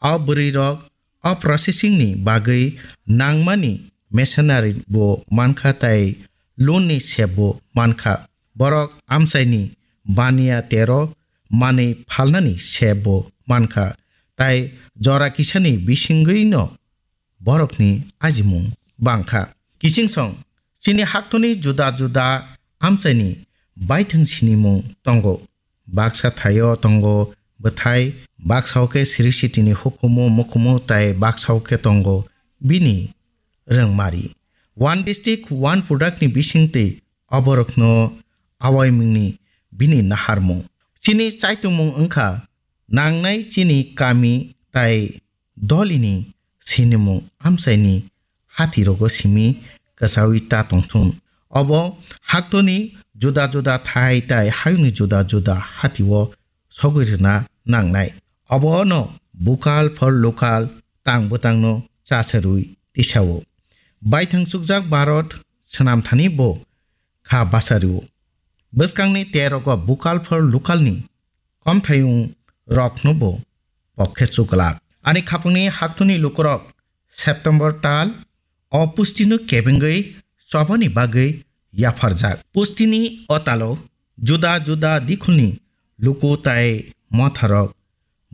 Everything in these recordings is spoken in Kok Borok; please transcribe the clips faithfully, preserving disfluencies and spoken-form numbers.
O bwrwirok o processing ni bagwi nangmani machinery bo mankha tei loan ni sep bo mankha. Borok amchaini baniya tero manwi phalnani sep bo mankha, tei jora kisani bisingwino borokni ajimung bangkha. Kichingsong, chini haktoni juda juda amchaini baithang sinimung tongo. Baksa thaio tongo bwthai, baksa o khe Sri City ni hukumu mukumu tei baksa o khe tongo bini rwngmari. One district, one product ni bisingtwi oborokno awaimungni bini naharmung. Chini chaitungmung wngkha nangnai chini kami tei dolini sinimung amchaini hatirogo simi kwchaui ta tongthun. Obo haktoni juda juda thai tai hayungni juda juda hatio sogwi rwna nangnai. Obono bukal for local tang bwtangno chasarwi tisao. Baithang chukjak Bharat swnamthani bo kha bachario. Bwskangni terogo bukal for local ni komthayung rokno bo pokhe chuklak. Ani khapangni haktoni lukurok September tal o pustino kebengwi chobani bagwi yapharjak. Pustini o talo juda juda dikhulni luku tai motharok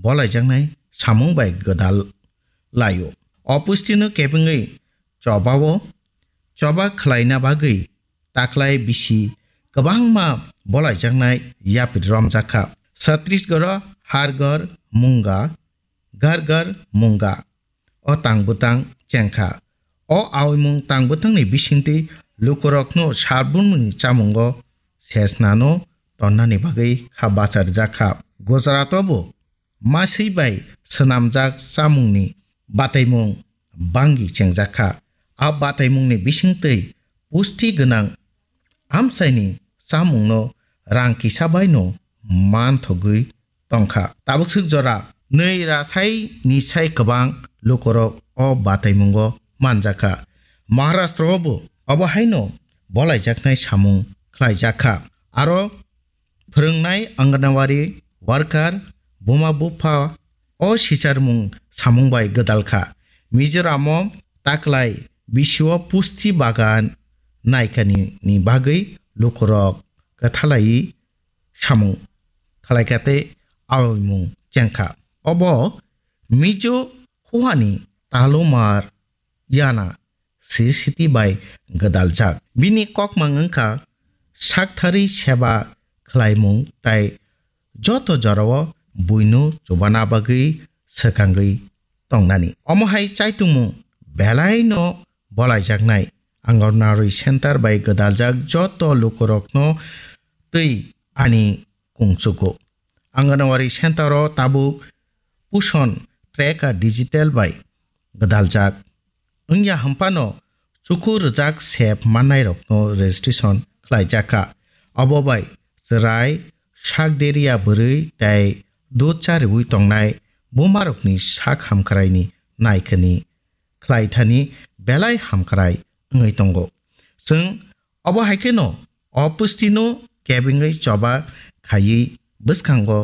bolaijaknai samung bai gwdal laio. O pustino kebengwi chobao choba khlaina bagwi taklai bisi kwbangma bolaijaknai yapri romjakha. Chhattisgarh o Har Ghar Munga, Ghar Ghar Munga o tang bwtang chengkha. O aoimung tang bwtangni bisingtwi lukurokno salbumni chamungo sesnano tonnani bagwi kha bacharjakha. Gujarat o bo maswi bai swnamjak chamungni bataimung bangwi chengjakha. A bataimungni bisingtwi pusti gwnang amchaini chamungno rang kisa baino manthogwi tongkha. Tabukswk jora nwi rasai ni sai kwbang lukurok o bataimungo manjakha. Maharashtra o bo obo haino bolaijaknai samung khlaijakha. Aro phwrwngnai Anganwadi worker, buma bupha o sicharmung samung bai gwdalkha. Mizoram o taklai bisio pusti bagan naikani ni bagwi lukurok kwthalai samung khlaikha tei aoimung chengkha. Obo Mizo huani talumar yana sisiti bai gwdaljak. Bini kokmang wngkha sakthari seba khlaimung tai joto jorao buino chubana bagwi swkangwi tongnani. Omo hai chaitungmung belaino bolaijaknai Anganwadi center bai gwdaljak joto lukurokno twi ani kungchugo. Anganwadi center o tabuk Pushon tracker digital bai gwdaljak. Wngya hwnphano chuku rwjak sep mannairokno registration khlaijakha. Abo bai chwrai, sak deriya bwrwi tei dud chariwi tongnai bumarokni sak hamkraini naikani khlaithani belai hamkrai wngwi tongo. Chwng obo hai kheno o pustino kebengwi choba khaiwi bwskango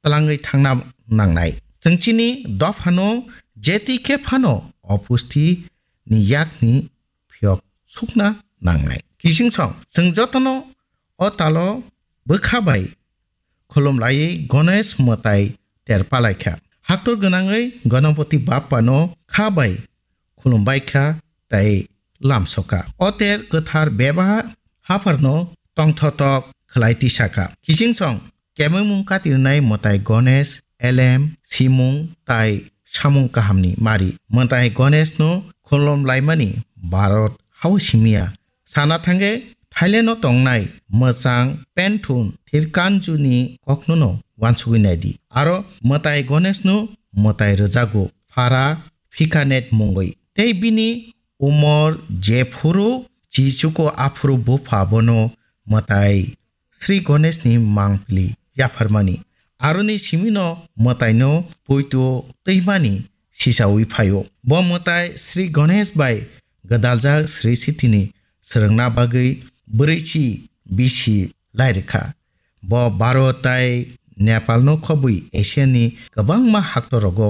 twlangwi thangna nangnai. Chwng chini dophano jeti khe phano o pusti ni yakni phiyok sukna nangnai. Kichingsong chwng jotono o talo bwkha bai khulum laiwi Ganesh mwtai ter palaikha. Haktor gwnangwi Ganapati Bappano kha bai khulum baikha tei lamsokha. O ter kwthar beba hapharno tongthotok khlai tisakha. Kichingsong kemengmung katirnai mwtai Ganesh, elem, simung tai samung kahamni mari. Mwtai Ganeshno khulum laimani Bharat hao simiya. Sana thangkhe Thailand o tongnai mwchang Penthun Thirkanju ni kokno no wansugwi naidi. Aro mwtai Ganesh no mwtai rwjago phara phikanet mungwi. Tei bini umor jephuru chichuko aphuru bupha bono mwtai Sri Ganesh ni mangpili yapharmani. Aroni simino mwtaino puitu twimani sisawi phaio. Bo mwtai Sri Ganesh bai gwdaljak Sri Sitini swrwngna bagwi bwrwichi bisi lairikha. Bo Bharat tai Nepalno khobwi Asiani kwbangma haktorogo